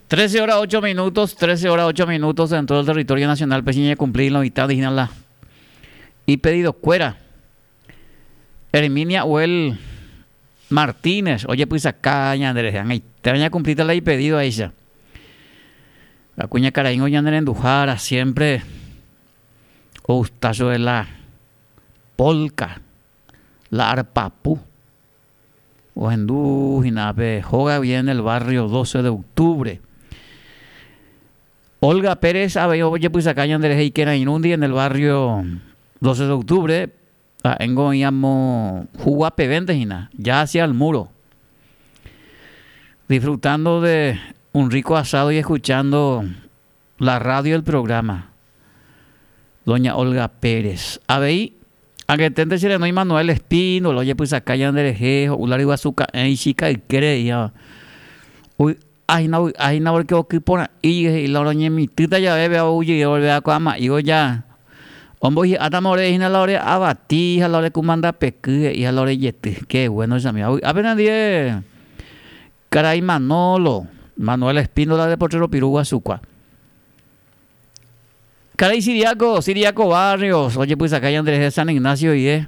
13 horas 8 minutos, 13 horas 8 minutos en todo el territorio nacional, pe cumplir la mitad de la y pedido cuera. Herminia Uel Martínez, oye pues acá ñandere, te vayan a cumplir la y pedido a ella. La cuña caraíngo ñandere endujara siempre gustazo de la polca, la arpapú. Ohendu hína pe hóga guive en el barrio 12 de octubre. Olga Pérez avei ojepysaka ñanderehe ikerãirũndi en el barrio 12 de octubre, ha'éngo oĩ amo Juguapevénte hína, ya hacia el muro. Disfrutando de un rico asado y escuchando la radio el programa. Doña Olga Pérez. Avei, angeténte che renói Manuel Espínola, ojepysaka ñanderehe, ho'u la ryguasu ka'ẽ ichika ykére he'íva. Ovy'ahína, ovy'ahína porque oky porã'i he'i la oroñemitỹta jave péva oujey volvea ko ama'ívo ja ombohi'átama ore hína la ore avati ha la ore kumandapeky he'i ha la ore jety. Qué bueno chami. Avy'ápe nandie Karai Manolo, Manuel Espíndola de Potrero Piru Guasukua. Karai Siriaco, Siriaco Barrios, ojepysaka ñanderehe San Ignacio guive.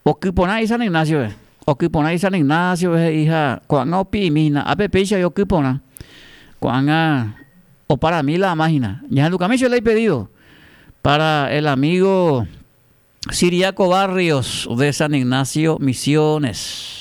Oky porã San Ignacio-pe. Oky porã San Ignacio-pe he'i ha ko'ág̃a opi'imi hína. Ápe péicha oĩ oky porã. Ko'ág̃a oparami la ama hína. Ñahendukami che la ipedido para el amigo Siriaco Barrios de San Ignacio, Misiones.